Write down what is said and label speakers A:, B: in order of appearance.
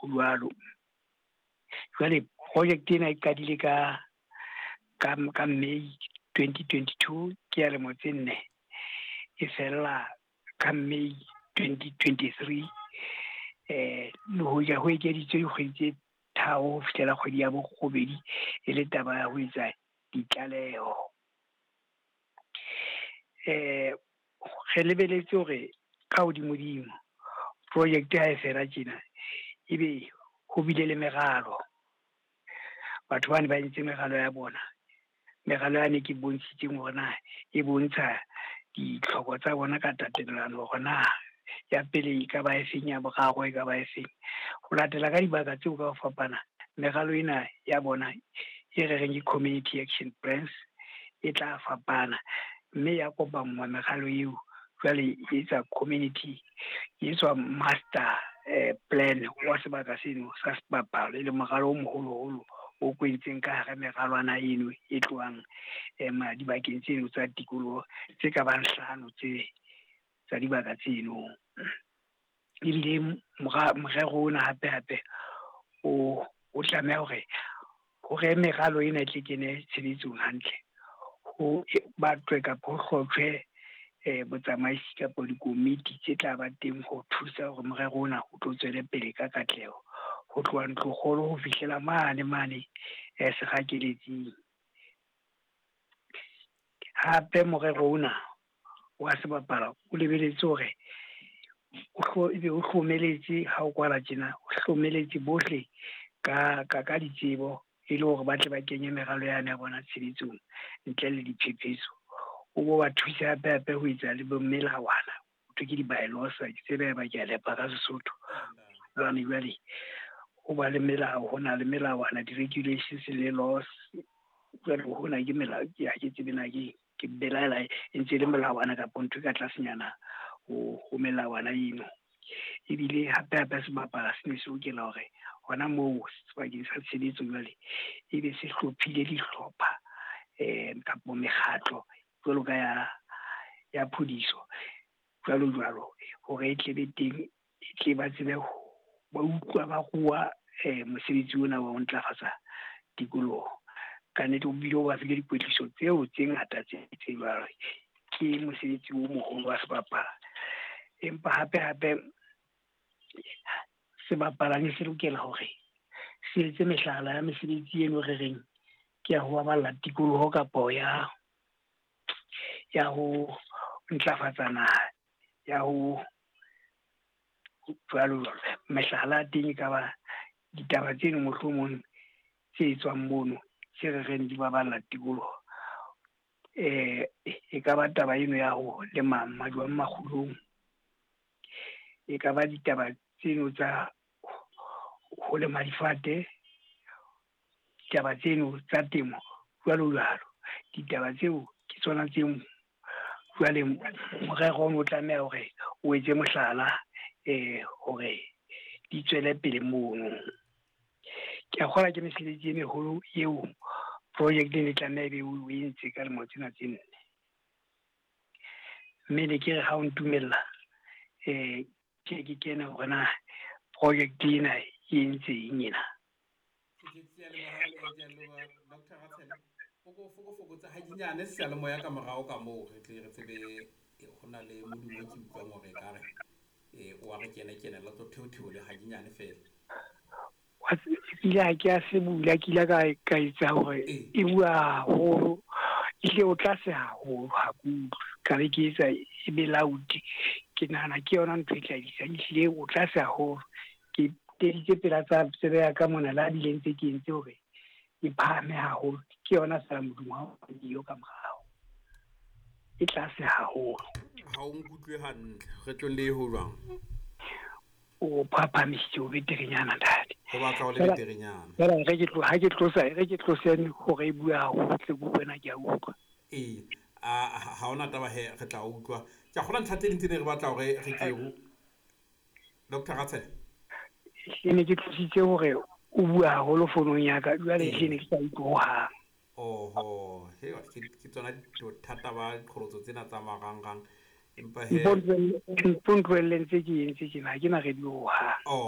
A: Ho jwalo. Jwale project ena e qadile ka May 2022, ke ya lemo tse 4, e fella ka May 2023. Le hoja ho ekeditswe dikgwedi tse 3 ho fihlela kgwedi ya borobedi e le taba ya ho etsa ditlaleho. Re lebeletse hore ka hodimodimo project ha e fela tjena ebe ho bile le meralo. Batho bane ba entse meralo ya bona. Meralo yane ke bontshitseng hore na e bontsha ditlhoko tsa bona ka tatelano, hore na ya pele e ka ba efeng, ya boraro e ka ba efeng. Ho latela ka dibaka tseo ka ho fapana, meralo ena ya bona e re reng ke community action plans e tla fapana, mme ya kopanngwa meralo eo jwale e etsa community, e etswa master plan wa sebaka seno sa sebapalo, e le moralo o moholoholo o kwentseng ka hara meralwana eno e tlohang dibakeng tseno tsa tikoloho tse ka bang 5 tse tsa dibaka tseno. Ebile morero ona hape hape o tlameha hore meralo ena e tle kene tshebetsong hantle, ho batlwe kapa ho hlotjhwe botsamaisi kapa dikomiti tse tla ba teng ho thusa hore morero ona o tlo tswele pele ka katleho, ho tloha ntlokgolo ho fihlela mane mane sekgakeletsing. Hape morero ona wa sebapala o lebeletse hore ebe o hlomeletse ha o kwala tjena, o hlomeletse bohle ka ditsebo e le hore ba tle ba kenye meralo yane ya bona tshebetsong ntle le diphephetso. O bo ba thuse hape hape ho etsa le bo melawana, ho thwe ke di-bylaws, ke tsebe ba ke a lepa ka Sesotho. Jwale ho ba le melao, ho na le melawana, di-regulations le laws. Jwale hona ke melao, ke ha ke tsebe na ke belaela e ntse e le melawana kapa ntho e ka tlasenyana ho melawana eno. Ebile hape hape sebapala se ne se lokela hore hona moo sebakeng sa tshebetso jwale ebe se hlophile dihlopha kapa mekgatlo jwalo ka ya phodiso jwalo jwalo, hore e tle be teng, e tle ba tsebe ba utlwa ba rua mosebetsi ona wa ho ntlafatsa tikoloho. Ka nnete o bile o ba file dikwetliso tseo tse ngata tse jwalo. Ke mosebetsi o moholo wa sebapala. Empa hape hape sebapala ne se lokela hore se etse mehlala ya mesebetsi eno re reng ke ya ho baballa tikoloho kapa ya ho ntlafatsa naha, ya ho jwalo jwalo. Mehlala ya teng e ka ba ditaba tseno mohlomong tse etswang mono tse re reng di baballa tikoloho. E ka ba taba eno ya ho lema majwang makgulong, e ka ba ditaba tseno tsa ho lema difate, ditaba tseno tsa temo jwalo jwalo. Ditaba tseo ke tsona tseo jwale morero o tlameha hore o etse mohlala hore di tswele pele mono. Ke a kgolwa ke mesebetsi e meholo eo project e tlameha ebe o entse ka lemo tsena tse 4. Mme ne ke re ha o ntumella ke kene hore na project ena e entse eng ena.
B: Ke a leboha Dr. Ratshele. O ko fokotsa hadinyane seyalemoya ka morao ka moo re tle re tsebe ho na le modumo ke utlwang hore ekare o wa re kena kena la tlo theotheo le hadinyane fela.
A: Ile ha ke a se bula, ke ile ka etsa hore e bua haholo, ehlile o tlase haholo ha ke utlwe. Ka be ke etsa e be loud, ke nahana ke yona ntho e tla isang, ehlile o tlase haholo. Ke teditse pela tsa tsebe ya ka mona, la bile ntse ke entse hore e phahame haholo. Ke yona fela modumo ha o dio ka morao, e tlase haholo.
B: Ha o nkutlwe hantle, re tlo le ho jwang?
A: O phaphamisitse o beterenyana ntate.
B: Ho batla ho le beterenyana.
A: Fela re ke tlo ha ke tlosa, re ke tlose hore e bua haholo, tle ke utlwe na ke a utlwa.
B: Ee, ha hona taba he, re tla utlwa. Ke a kgolwa ntlha tse ding tse ne re batla hore re ke ho Dr. Ratshele.
A: Ke ne ke tlositse hore o bua haholo fonong ya ka, jwale ke ne ke sa utlwe hohang.
B: Oho, he ke tsona bothata ba qholotso tsena tsa marangrang. Empa he
A: Mpo ntlohelle ntse ke entse tjena, ha ke na radio hohang.